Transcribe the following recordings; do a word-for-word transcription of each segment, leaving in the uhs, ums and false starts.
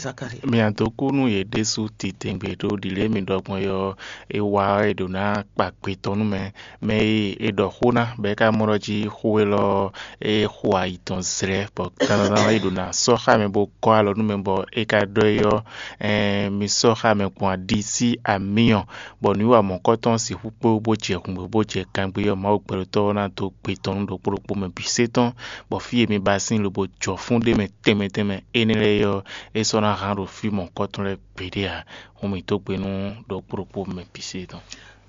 Zakari. Mia dó kú nú yě ɖésú titɛngbé ɖó ɖǐlé mi ɖɔ gbɔn é ɔ́, é wa ɔ́, è ɖǒ ná kpa gbe tɔn nú mɛ. Mɛ e è ɖɔ xó ná, bɔ é ka mɔ ɖɔ jí xó élɔ́ ɔ́, é xo ayi tɔn zlɛ́, bɔ dandandan é ɖǒ ná sɔ́ xá mɛ bó gɔ́ alɔ nú mɛ, bɔ é ka ɖɔ é ɔ́, ɛɛn, mi sɔ́ xá mɛ gbɔn aɖi sí amyɔ, bɔ nǔwiwa mɔ̌kɔtɔn sixú kpé wú bó jɛ hǔngbě bó jɛ kangbé ɔ́, Mawu gbɛɖotɔ́ ɔ́ ná dó gbe tɔn nú ɖokpó ɖokpó mɛ bǐ sé tɔn, bɔ fí e mi ba sín lobo jɔ fún ɖ'é mɛ tɛnmɛ tɛnmɛ énɛ́ lɛ́ɛ ɔ́, é sɔ́ ná hán ɖo fí mɔ̌kɔtɔn lɛ́ɛ gbeɖé ǎ. Hǔn mǐ dó gbe nú ɖokpó ɖokpó mɛ bǐ sé tɔn.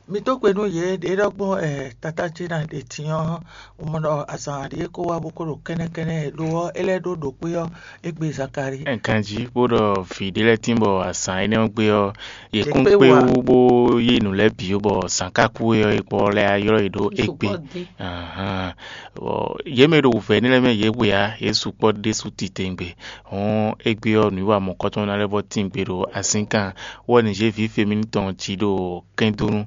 Mi dó gbe nú yě ɖě ɖɔ gbɔn ɛ tata ce ná ɖe din ɔ́, un mɔ ɖɔ azǎn ɖě kó wá bó kó ɖo kɛ́nɛ́kɛ́nɛ́ lo ɔ́, é lɛ́ ɖó ɖǒkpé ɔ́, é gbe Zakalíi. Ganjí bó ɖɔ vǐ ɖé lɛ́ɛ tín bɔ azǎn énɛ́ ɔ́ gbe ɔ́, yě kún kpé wú bó yí nǔ lɛ́ɛ bǐ ó, bɔ zǎn ka kú é ɔ́, é kpɔ́ lɛ́ ylɔ́ yě ɖó égbé. Yě mɛ e ɖo wǔvɛ́ énɛ́ lɛ́ɛ mɛ yě hwe ǎ, yě sukpɔ́ ɖésú titewungbe. Hɔn égbé ɔ́, nǔwiwa mɔ̌kɔtɔn ná lɛ́ vɔ tín gbe ɖo azínkan. Wɛ ni zé vǐ Femini tɔn jí ɖo kɛndónú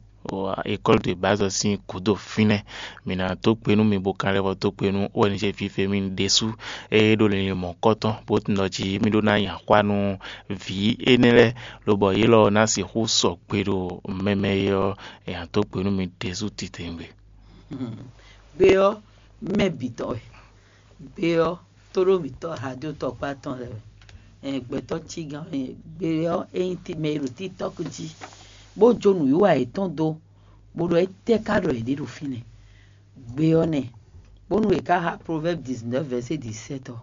école de base ɔ́ sín gǔdo fínɛ́. Mǐ ná dó gbe nú mi bó ka lɛ́ vɔ dó gbe nú O N G Vǐ Femini ɖésú e ɖo linlin mɔ̌kɔtɔn, bó tunwun ɖɔ jí mì ɖó ná nyi axwá nú vǐ énɛ́ lɛ́ɛ, lobɔ yě lɔ ná sixú sɔgbe ɖo mɛ mɛ e ɔ́, è nǎ dó gbe nú mi ɖésú titewungbe. Gbe ɔ́, mɛ bǐ tɔn wɛ. Gbe ɔ́, tóɖómǐtɔ́ hajotɔkpá tɔn lɛ́ɛ wɛ. Ɛn gbɛtɔ́ cígán wɛ nyɛ. Gbe ɔ́, é nyí mɛ e ɖo TikTɔ́k jí, bó jó nǔwiwa yětɔn dó, bó ɖɔ étɛ́ ka ɖɔ yě ɖe ɖo fínɛ́. Gbe ɔ́ nɛ́, bónú è ka xa Proverbes dix-neuf verset dix-sept ɔ́,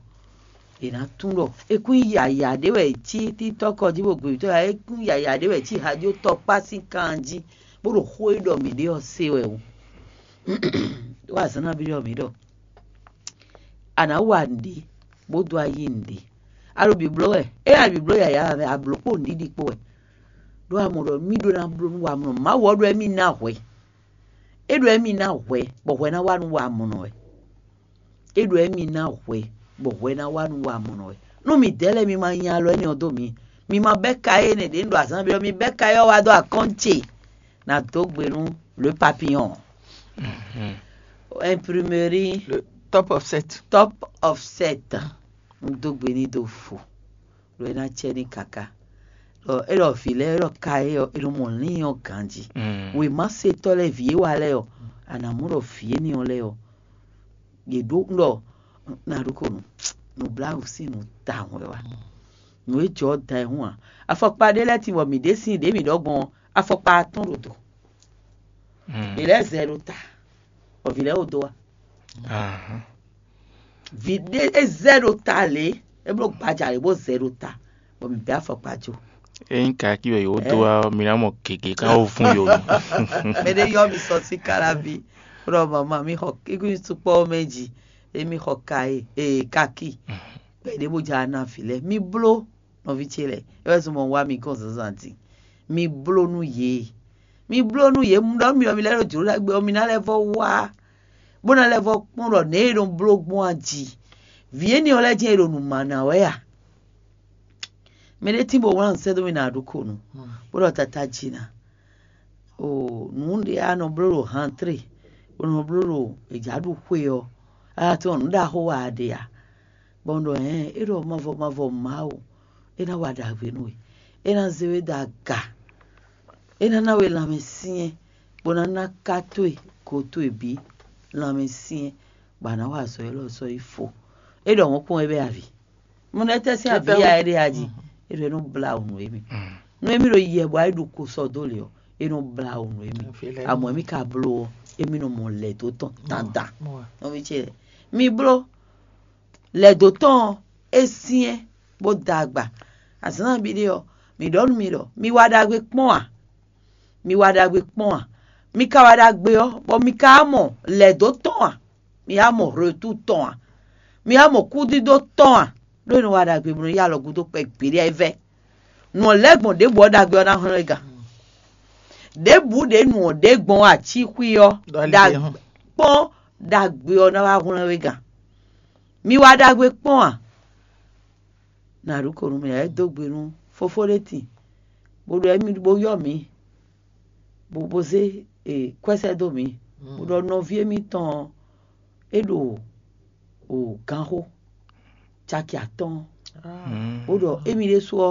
è nǎ tunwun ɖɔ é kún nyí yǎyá ɖé wɛ è cí TikTɔ́k ɔ́ jí bó gbe mǐtɔn é kún nyí yǎyá ɖé wɛ è cí hajotɔkpá sín kan jí, bó ɖo xó e ɖɔ mǐ ɖe ɔ́ se wɛ o. Wá azǎn ná byɔ́ mǐ ɖɔ a nǎ wa nǔɖé bó dó ayi nǔɖé. A ɖo bǐbló wɛ, é a bǐbló yǎyá wɛ, a blǒ kpo nǔɖiɖi kpo wɛ. Ɖó a mɔ ɖɔ mì ɖó ná bló nú wamɔnɔ. Mawu ɔ́ ɖó émí ná hwɛ. É ɖó émí ná hwɛ, bɔ hwɛ ná wá nú wamɔnɔ wɛ. É ɖó émí ná hwɛ, bɔ hwɛ ná wá nú wamɔnɔ wɛ. Nú mǐdɛɛ lɛ́ɛ mi ma nyi alɔ énɛ́ ɔ́ dó mǐ, mi ma bɛ́ ka énɛ́ ɖě un ɖo azǎn byɔ́, mi bɛ́ ka ɔ́ wá dó akɔ́n ce. Nǎ dó gbe nú le papillon. Imprimerie. Le top offset. Top offset. Un dó gbe ní dó fo. Ɖo é ná cɛ ní káká. Ɖɔ é ɖɔ vǐ lɛ́ɛ é ɖɔ ka é ɔ́, é nɔ mɔ lín ɔ́ ganjí. Wěmasetɔ́ lɛ́ɛ vǐ é wa lɛ́ɛ ɔ́, a nǎ mɔ ɖɔ vǐ énɛ́ ɔ́ lɛ́ɛ ɔ́, yě ɖó ɖɔ nǎɖuko nǔ nǔbláwǔ sín nǔ tawun wɛ wá. Nǔ e jɔ ɔ́ da ayihún ǎ. Afɔkpa ɖé lɛ́ɛ tin bɔ mǐ ɖe sín ɖě mǐ ɖɔ gbɔn ɔ́, afɔkpa atɔ́ɔ́n ɖo do. Vǐ lɛ́ɛ zɛ ɖo ta, bɔ vǐ lɛ́ɛ wo dó wá. Vǐ ɖé é zɛ ɖo ta lě, é bló gbaja lě bó zɛ ɖo ta, bɔ mǐ bɛ́ afɔkpa jó. Ényí kaki wɛ yǒ dó wá ɔ́, mi ná mɔ gěgé ká wó vún yǒ nu. Mɛ ɖé yɔ mi sɔ sí káláví, ɖɔ mama mi xɔ kíkún sukpɔ́ mɛ jí, emi xɔ ka e ee kaki, bɔ è ɖě bó ja ná vǐ lɛ́ɛ. Mi bló nɔví ce lɛ́ɛ, é wɛ zɔn mɔ wá mi gɔn zǎnzǎn din. Mi bló nú yě, mi bló nú yě, un ɖɔ mi ɖɔ mi lɛ́ ɖo jlǒ ɖagbe ɔ́, mi ná lɛ́ vɔ wá, bó ná lɛ́ vɔ kpɔ́n ɖɔ nɛ̌ e nɔ bló gbɔn a jí. Vǐ énɛ́ ɔ́ lɛ́ɛ jɛ́n è ɖo nǔ ma ná wɛ a? Mɛ ɖé tín bó wlán nǔ sɛ́ dó mì nǎ ɖu ko nu, bó ɖɔ tata jí ná. O nǔ ɖé a nɔ bló ɖo hantré, bó nɔ bló ɖo èjǎɖuxwé ɔ́, a tunwun nǔ ɖaxó wa a ɖe a? Bɔ un ɖɔ hɛ̌n, é ɖɔ mavɔ mavɔ Mawu, é ná wa ɖagbe nú we, é ná zé we dó aga, é ná ná we lanmɛsyɛ́n, bó ná ná ká towe go towe bǐ lanmɛsyɛ́n, bɔ a nǎ wa azɔ̌ élɔ́ sɔ́ yi fó. É ɖɔ hɔn kpɔ́n é bɛ́ avǐ. Mo nɔ étɛ́ sín avǐ ya é ɖe a jí? É ɖɔ é nɔ blá wǔ nú émí. Nú émí ɖo yɛ bɔ é ɖu ko sɔ dó lě ɔ́, é nɔ blá wǔ nú émí. Amɔ̌ émí ka bló ɔ́, émí nɔ mɔ lɛ̌ dó tɔn dandan. Nɔví ce, mi bló lɛ̌ dó tɔn ɔ́, é syɛ́n bó da agba. Azǎn nabí ɖé ɔ́, mǐ ɖɔ nú mi ɖɔ mi wa ɖagbe kpɔ́n a? Mi wa ɖagbe kpɔ́n a? Mi ka wa ɖagbe ɔ́, bɔ mi ka wá mɔ lɛ̌ dó tɔn a? Mi wá mɔ hletu tɔn a? Mi wá mɔ kúdídó tɔn a? Ɖó è nɔ wa ɖagbe bó nɔ yí alɔ gúdo kpɛ gbeɖé ɛ vɛ́. Nǔ ɔ́ lɛ́ gbɔn ɖěbǔ ɔ́ ɖagbe ɔ́ ná hwlɛ́n we gǎn. Ɖěbǔ ɖě nǔ ɔ́ ɖě gbɔn ɔ́, acíxwí ɔ́ kpɔ́n ɖagbe ɔ́ ná wá hwlɛ́n we gǎn. Mi wa ɖagbe kpɔ́n a? Nǎɖuko nú mì ǎ, é dó gbe nú fófó ɖé tin, bó ɖɔ émí bó yɔ́ mǐ, bó bó zé kwɛ́ sɛ́ dó mǐ, bó ɖɔ nɔví émítɔn ɔ́, é ɖo ganxó caki atɔ́ɔ́n, bó ɖɔ émí ɖésú ɔ́,